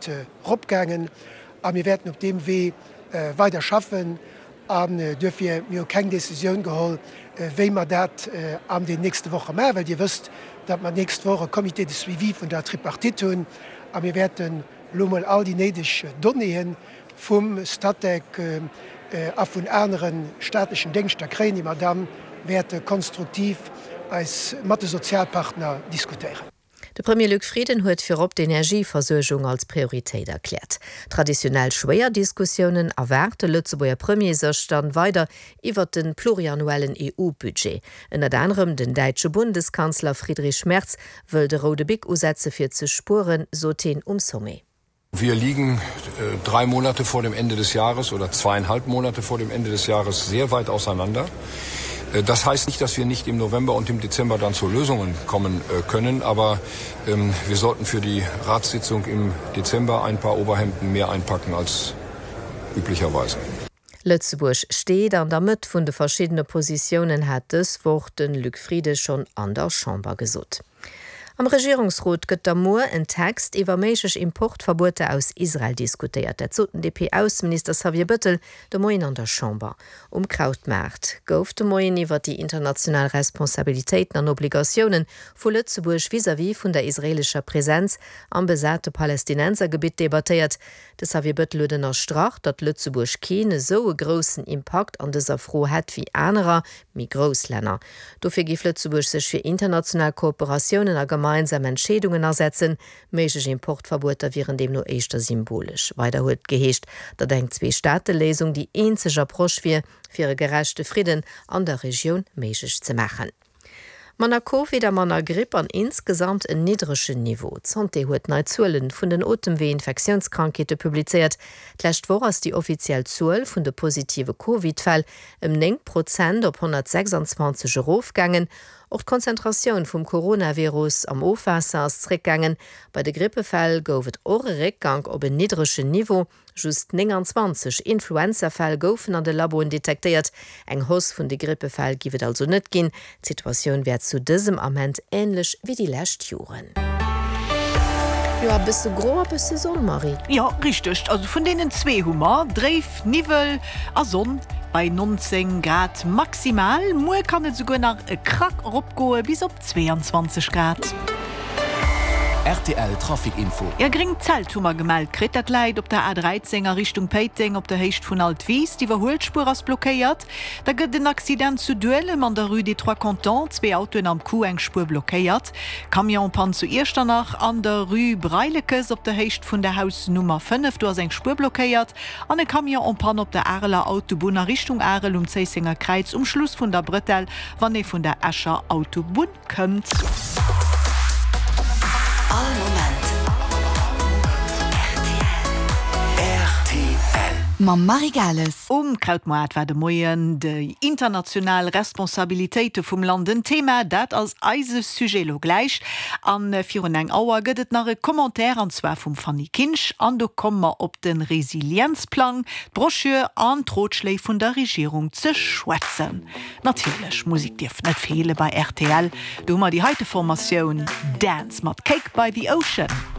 Prozent eropgaangen a mir wäerten op deem Wee weider schaffen. An duerfir, mir hu keng Décisioun geholl, wéi mer dat an den nächste Woche maachen, well Dir wësst, datt mer d'nächst Woch e Comité de suivi vun der Tripartite hunn a mir wäerten elo mol all déi néideg Donnéeë vum Statec a vun anere staatlechen Déngschter kréien, déi mer da wäerte konstruktiv eis mat de Sozialpartner diskutéieren. De Premier Luc Frieden huet virop d'Energieversuergung als Prioritéit erkläert. Traditionell schwéier Diskussiounen erwaart de Lëtzebuerger Premier sech dann weider iwwert de pluriannuellen EU-Budget. Ënnert anerem den däitsche Bundeskanzler Friedrich Merz wëll de roude Bic usetze fir ze spueren, sot heen um Sommet. Wir liegen äh, drei Monate vor dem Ende des Jahres oder zweieinhalb Monate vor dem Ende des Jahres sehr weit auseinander. Äh, das heißt nicht, dass wir nicht im November und im Dezember dann zu Lösungen kommen äh, können, aber ähm, wir sollten für die Ratssitzung im Dezember ein paar Oberhemden mehr einpacken als üblicherweise. Lëtzebuerg steet an der Mëtt vun de verschiddene Positiounen, hat dës Woch de Luc Frieden schonn an der Chamber gesot. Am Regierungsrot gëtt da muer en Text iwwer méiglech Importverbueter aus Israel diskutéiert. Dat sot den DP-Ausseminister Xavier Bëttel de Moien an der Chamber. Um Krautmaart gouf de Moien iwwer déi international Responsabilitéiten an Obligatioune vu Lëtzebuerg vis-à-vis vun der israeelescher Presenz am besate Palästinensergebitt debattéiert. De Xavier Bettel huet ënnerstrach, datt Lëtzebuerg keen esou e groussen Impakt an dëser Fro hätt wéi anerer, méi grouss Länner. Dofir géif Lëtzebuerg sech fir international Kooperatiounen a gemeinsam Entscheedungen asetzen. Méiglech Importverbueter wieren deemno éischter symbolesch. Weider huet et geheescht, datt eng Zwee-Staate-Léisung déi eenzeg Approche wier, fir e gerechte Fridden an der Regioun méiglech ze maachen. Manner Covid a manner Gripp an insgesamt en niddregen Niveau. D'Santé huet nei Zuelen vun den Otemwee-Infektiounskrankheete publizéiert. D'lescht Woch ass déi offiziell Zuel vun de positive Covid-Fäll ëm 9 Prozent op 126 erofgaangen. Och d'Konzentratioun vum Coronavirus am Ofwaasser ass zréckgaangen. Bei de Grippefäll gouf et och e Réckgank op en niddregen Niveau. Just 29 Influenzafäll goufen an de Laboen detektéiert. Eng Hausse vun de Grippefäll giff et also net ginn. D'Situatioun wär zu dësem Ament änlech wéi déi lescht Joren. Jo, e bësse gro a bësse Sonn, Marie. Jo, richteg. Also vun deenen zwee hu mer dréif Niwwel a Sonn bei 19 Grad maximal. Muer kann et esouguer nach e Krack eropgoe bis op 22 Grad. Rtl Trafic Info. E gréngt Zelt hu mer gemellt kritt. Dat läit op der A13 a Richtung Péiteng op der Héicht vun Altwis. D'Iwwerhuelspuer ass blockéiert. Da gëtt en Accident zu Duelem an der Rue des Trois Cantons. Zwee Autoen am Coup, eng Spuer blockéiert. Camionspann zu Iechternach an der Rue Breilekes op der Héicht vun der Haus Nummer 5. Do ass eng Spuer blockéiert. An e Camion en panne op der Areler Autobunn a Richtung Arel um Zéissenger Kräiz um Schluss vun der Brëtell, wann ee vun der Escher Autobunn kënnt. All Moment rtl. Mam Marie Gales. Um Krautmoart war de Moien déi international Responsabilitéite vum Land en Thema. Dat ass eise Sujet elo gläich. A virun eng Auer gëtt et nach e Commentaire, an zwar vum Fanny Kinsch. An do komme mer op de Resilienzplang, d'Broschür an d'Rotschléi vun der Regierung ze schwätzen. Natierlech, Musek dierf net feele bei rtl. Do hu mer déi heite Formatioun, Dance mat Cake by the Ocean.